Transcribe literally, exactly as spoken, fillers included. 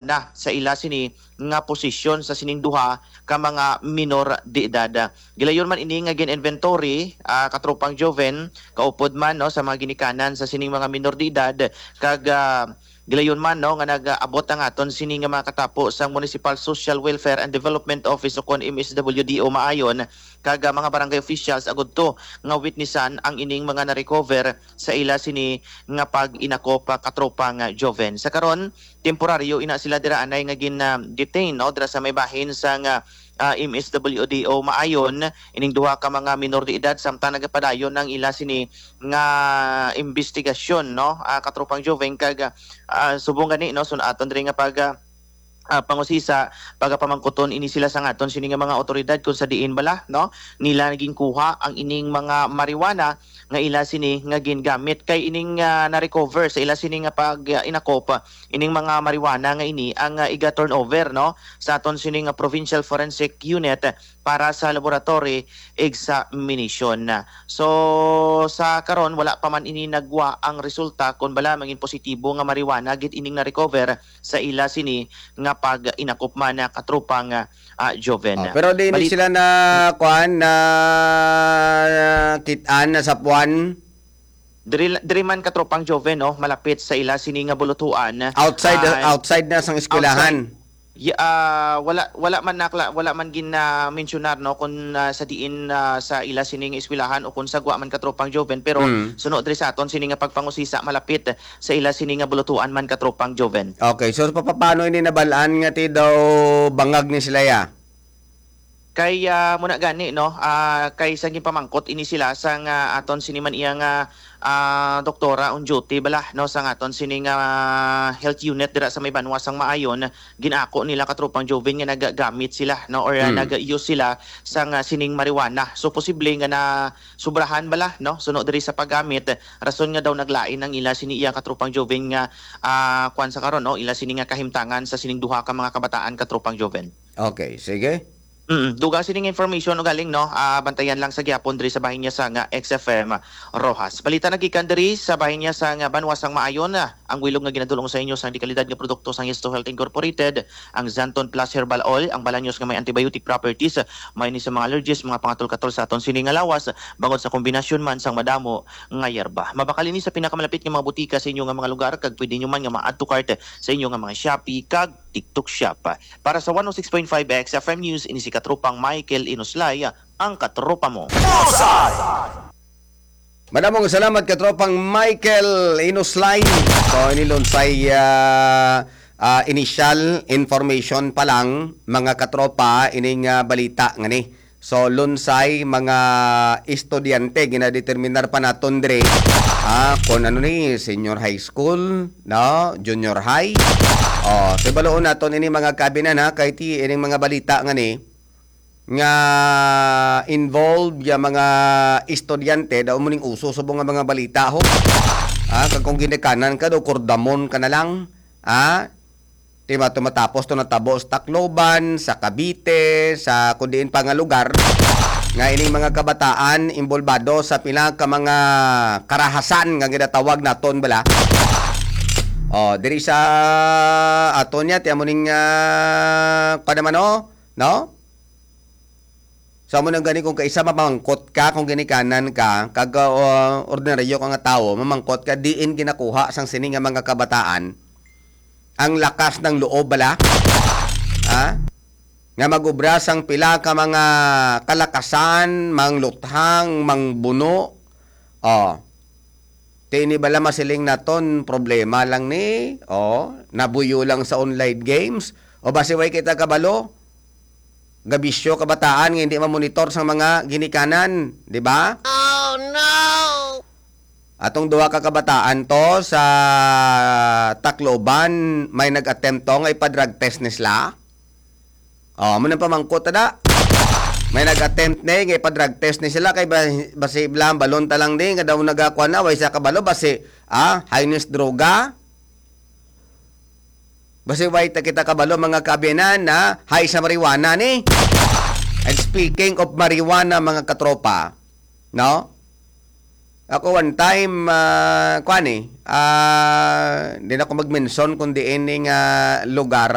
na sa ila sini nga posisyon sa sining duha ka mga minor de edad. Gilayon man ini nga gin-inventory, ah, katropang Joven, kaupod man, no, sa mga ginikanan sa sining mga minor de edad, kag, ah, gilayon man, no, nga nag-abot ang aton sini nga mga katapo sang Municipal Social Welfare and Development Office ukon M S W D O Maayon, kag, ah, mga barangay officials agud to nga witnessan ang ining mga na-recover sa ila sini nga pag-inakop, ah, katropang, ah, Joven. Sa karon, temporaryo ina sila dira anay nga gin, ah, detain, no, dira sa may bahin sang, ah, ah, M S W D O Maayon, ining duha ka mga minor de edad, samtang nagapadayon ang ila sini nga imbestigasyon, no, ah, katropang Joven, kag, ah, subong gani, no, sun-aton diri nga pag, ah, ah, pangusisa, pagapamangkuton ini sila sang aton sini nga mga awtoridad kung sa diin bala, no, nila ginkuha ang ining mga marijuana nga ila sini nga gingamit, kay ining, ah, na-recover sa ila sini nga pag, ah, inakop, ining mga marijuana nga ini ang, ah, iga-turnover, no, sa aton sini nga Provincial Forensic Unit para sa laboratory examination. So, sa karon, wala pa man ini nagwa ang resulta kon bala mangin positibo nga marijuana gid ining na-recover sa ila sini nga pag-inakop man, ah, katropang, ah, Joven. Oh, pero di ni Balit- sila na, kuan, na kit-an, na sapuan? Diri, diri man, katropang Joven, no, malapit sa ila sini nga bulutuan. Outside, Ah, outside na sang eskwelahan. Outside. Y-, ah, wala, wala man nakla-, wala man gin, ah, mensyonar, no, kung, ah, sa diin, ah, sa ila sini nga eskwelahan o kung sa gwa man, katropang Joven, pero Mm. suno diri sa aton sini nga pagpangusisa, malapit sa ila sini nga bulutuan man, katropang Joven. Okay, so pa-, pa-, paano ini nabal-an nga ti daw bangag ni sila ya? Kay, ah, muna gani, no, ah, kay sa ginpamangkot ini sila sang, ah, aton sini man iya nga, ah, doktora on duty bala, no, sang aton sini nga, ah, health unit dira sa may banwa sang Maayon, gin-ako nila, katropang Joven, nga nagagamit sila, no, or, ah, Hmm. nag-use sila sang, ah, sining marijuana. So, posible nga na subrahan bala, no, suno diri sa paggamit, rason nga daw naglain ang ila sini iya, katropang Joven, nga, ah, kuwan sa karon, no, ila sini nga kahimtangan sa sining duha ka mga kabataan, katropang Joven. Okay, sige. Mm, dugang sining information ugaling, no, ah, bantayan lang sa gihapon diri sa bahin niya sa nga X F M Roxas. Balita nagikan diri sa bahin niya sa nga banwa sang Maayon, ah, ang wilog nga ginadulong sa inyo sang dekalidad nga produkto sang Yesto Health Incorporated, ang Xanthone Plus Herbal Oil, ang balanyos nga may antibiotic properties, may ni sa mga allergies, mga pangatol-katol sa aton sini nga lawas, bangod sa kombinasyon man sang madamo nga yerba. Mabakal ini sa pinakamalapit nga mga butika sa inyo nga mga lugar, kag pwede nyo man nga ma-add to cart sa inyo nga mga Shopee kag TikTok Shop. Para sa one oh six point five X F M News, ini si Katropang Michael Inuslay, ang katropa mo. Bullseye! Madamong salamat, Katropang Michael Inuslay. So, ini lunsay, ah, ah, initial information pa lang, mga katropa, ining, ah, balita nga ni. So, lunsay, mga estudyante, ginadeterminar pa naton diri, ah, kung ano ni, senior high school, no? Junior high. Oh, so, baloon naton ini, mga kabinan, ha, kay ti, ining mga balita nga ni, nga involved ya mga estudyante, daw mo ning uso subong nga mga balita, ho. Ah, kag kung ginikanan ka, daw kordamon ka na lang. Ah, di ba, tumatapos to natabo sa Tacloban, sa Cavite, sa kung diin pa nga lugar, nga ining mga kabataan involbado sa pila ka mga karahasan nga ginatawag naton bala. Oh, diri sa aton niya, ti amo ning, ah, kuwan naman, oh, no? So, amo nang gani, kung kaisa mamangkot ka, kung ginikanan ka, kag, uh, ordinaryo ka nga tawo, mamangkot ka, diin ginakuha sang sini nga mga kabataan ang lakas ng loob bala? Ha? Nga mag-obra sang pila ka mga kalakasan, mangluthang, mangbuno. Oh. Ti ini bala masiling naton, problema lang ni, oh, nabuyo lang sa online games. O basi way kita kabalo, gabisyo kabataan nga hindi mamonitor sang mga ginikanan, di ba? Oh, no! Atong duha ka kabataan to sa Tacloban, may nag-attempt to nga ipa-drug test ni sila. Oh, amo nang pamangkot ta da. May nag-attempt ni nga ipa-drug test ni sila kay ba-, basi blam balon ta lang di nga daw nagakuan na, way sa kabalo, basi, ah, high ni sa droga. Basi way ta kita kabalo, mga kaabyanan, na high sa marijuana ni. And speaking of marijuana, mga katropa, no? Ako one time, ah, kuan eh, ah, di na ko mag-mention kung diin ni nga lugar